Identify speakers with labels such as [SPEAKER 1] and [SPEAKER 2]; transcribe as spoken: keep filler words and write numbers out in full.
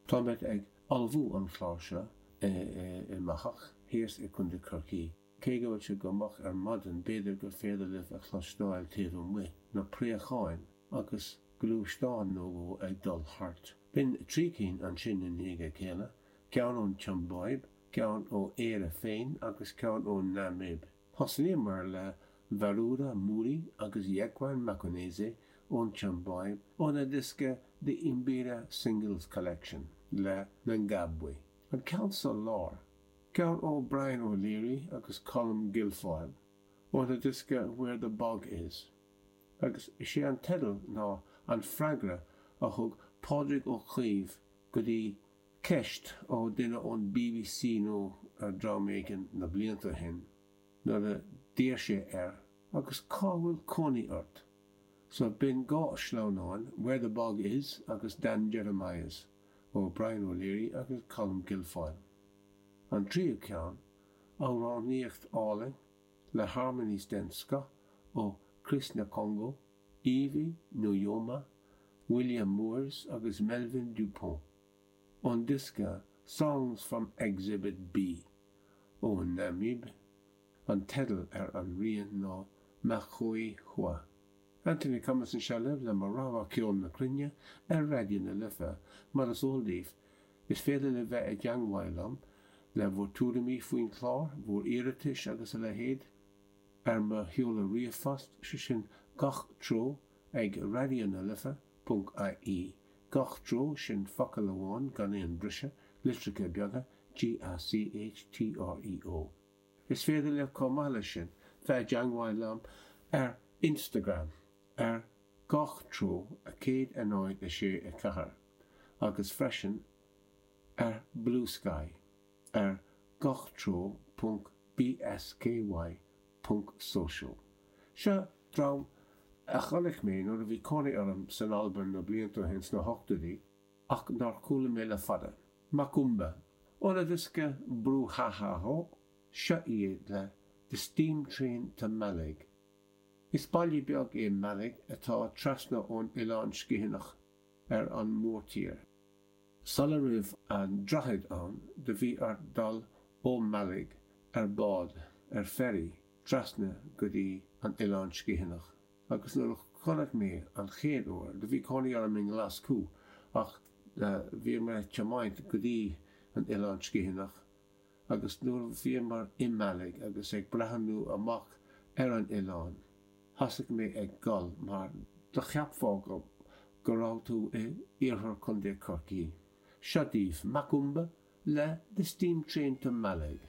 [SPEAKER 1] Táimid ag ullmhú an chlár seo i mo theach thíos i Contae Chorcaí. Cé go bhfuil sé go moch ar maidin, b'fhéidir gur féidir libh a chloisteáil taobh amuigh na préacháin agus gluaisteán nó dhó ag dul thart. B'in trí cinn ansin i ndiaidh a chéile, ceann ón tSiombáib, ceann ó Éire féin agus ceann ón Namaib. Thosnaíomar le Varura Muri agus Jekwan Makonese ón tSiombáib óna diosca The Imbira Singles Collection le Ngabwe. An ceann sa lár, ceann ó Brian O'Leary agus Colm Guilfoyle óna diosca Where the Bog Is. Agus is é an teideal ná an freagra a thug Pádraig Ó Caoimh go dtí ceist ó duine ón BBC nó ar dream éigin na blianta ó shin nuair a d'iarr sé air agus cá bhfuil cónaí ort? So b'in dhá sleamhnán, Where the Bog Is agus Dan Jeremias ó Brian O'Leary agus Colm Guilfoyle. An tríú ceann, amhránaíocht álainn le harmonies den scoth ó Chris Nekongo, Evie Nujoma, William Moors agus Melvin Dupont ón diosca Songs from Exhibit B ón Namaib. An teideal ar an rian ná Makhoe-Hoa. Anthony Cummins anseo libh le mo rogha ceol na cruinne ar Raidió na Life. Mar is eol daoibh, is féidir libh bheith i dteangmháil liom le bhur tuairimí faoin chlár, bhur iarratais agus a leithéid, ar mo sheoladh ríomhphost, sé sin gach treo ag raidió na life ponc ie. Gach treo, sin focal amháin gan aon briseadh, litreacha beaga, G-A-C-H-T-R-E-O. Is féidir libh chomh maith leis sin bheith i dteangmháil liom ar Instagram ar gach treo a céad a náid a sé a ceathair agus freisin ar Bluesky ar gach treo ponc bsky ponc social. Seo dream a chonaic mé nuair a bhí cónaí orm san Albain na blianta ó shin sna hochtóidí ach nár chuala mé le fada. Macumba. Óna diosca Brouhaha seo iad le The Steam Train to Mallaig. Is baile beag é Mallaig atá trasna ón Oileán Sgitheanach ar an mórtír. Sula raibh an droichead ann do bhí ort dul ó Mallaig ar bád, ar ferry, trasna go dtí an Oileán Sgitheanach. Agus nuair a chonaic mé an chéad uair, do bhí cónaí orm i nGlaschú ach bhíomar ag tiomáint go dtí an Oileán Sgitheanach agus nuair a bhíomar i Mallaig agus ag breathnú amach ar an oileán, thosaigh mé ag gol mar do cheapfá go go raibh tú i iarthar Contae Chorcaí. Seo daoibh Macumba le The Steam Train to Mallaig.